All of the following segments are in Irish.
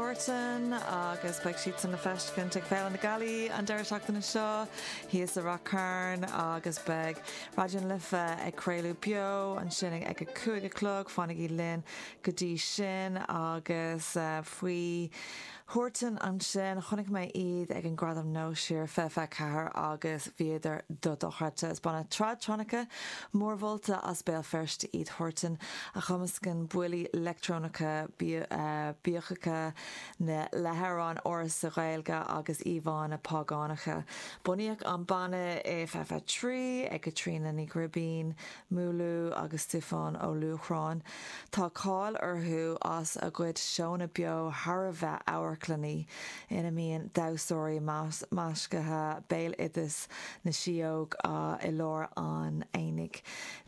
Huartan agus beidh siadsan le feiscint ag Féile na Gealaí an deireadh seachtaine seo thíos i Rath Cairn agus beidh Raidió na Life ag craoladh beo ansin ag a 5 a chlog. Fanaigí linn go dtí sin agus faoi Huartan ansin, chonaic mé iad ag an Gradam Nós siar 2024 agus bhíodar dochreidte. Is banna tradtronica mórmholta as Béal Feirste iad Huartan, a chumascann buillí leictreonacha bíogacha le hamhráin ársa Ghaeilge agus íomhánna págánacha. Bunaíodh an banna i 2023 ag Caitríona Ní Ghribín, Múlú agus Stiofán Ó Luachráin. Tá cáil orthu as a gcuid seónna beo thar a bheith amharclannaí, ina mbíonn damhsóirí maiscithe béaloideas na síóg i lár an aonaigh.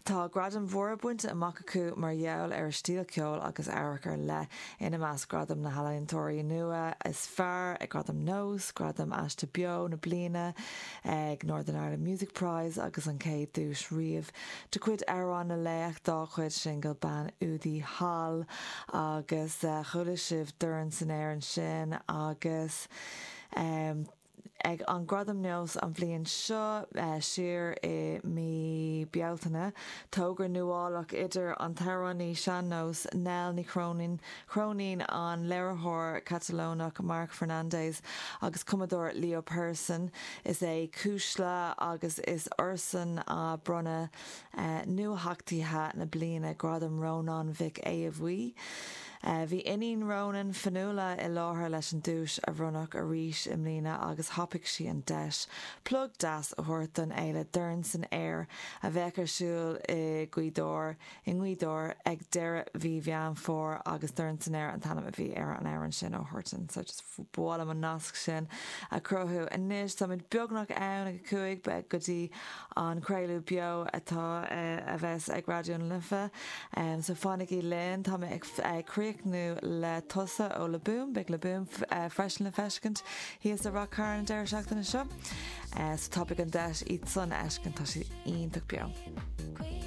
Tá gradaim mhóra bainte amach acu mar gheall ar a stíl ceoil agus amhairc ar leith, ina measc Gradam na nEalaíontóirí Nua is Fearr ag Gradaim Nós, Gradam Aiste Beo na Bliana ag Northern Ireland Music Prize agus an chéad duais riamh de chuid Amhrán na Laoch dá chuid singil Bean Údaí Thall agus chuala sibh Dorn san Aer ansin agus ag an Gradam Nós an bhliain seo siar i mí Bealtaine togra nuálach idir an t-amhránaí sean-nós Nell Ní Chróinín Chróinín, an léiritheoir Catalónach Marc Fernández agus cumadóir Leo Persson. Is é Cuisle agus is orthusan a bronnadh Nuatheachtaithe na Bliana, Gradam Rónáin Mhic Aodha Bhuí. Bhí iníon Rónáin, Fionnuala, i láthair leis an duais a bhronnadh arís i mbliana agus thapaigh sí an deis plug deas a thabhairt don fhéile Dorn san Aer a bheadh ar siúl i Gaoth Dobhair i nGaoth Dobhair ag deireadh mhí Mheán Fómhair agus Dorn san Aer an t-ainm a bhí ar an amhrán sin ó Huartan. So just ba mhaith liom an nasc sin a chruthú. Anois táimid beagnach ann ag a 5 beidh go dtí an craoladh beo atá a bheas ag Raidió na Life. So fanaigí linn. Tá mé ag críochnú le Tusa ó Le Boom. Beidh Le Boom freisin le feiscint thíos i Rath Cairn an deireadh seachtaine seo. So tapaigh an deis iad san a fheiscint, tá siad iontach beo.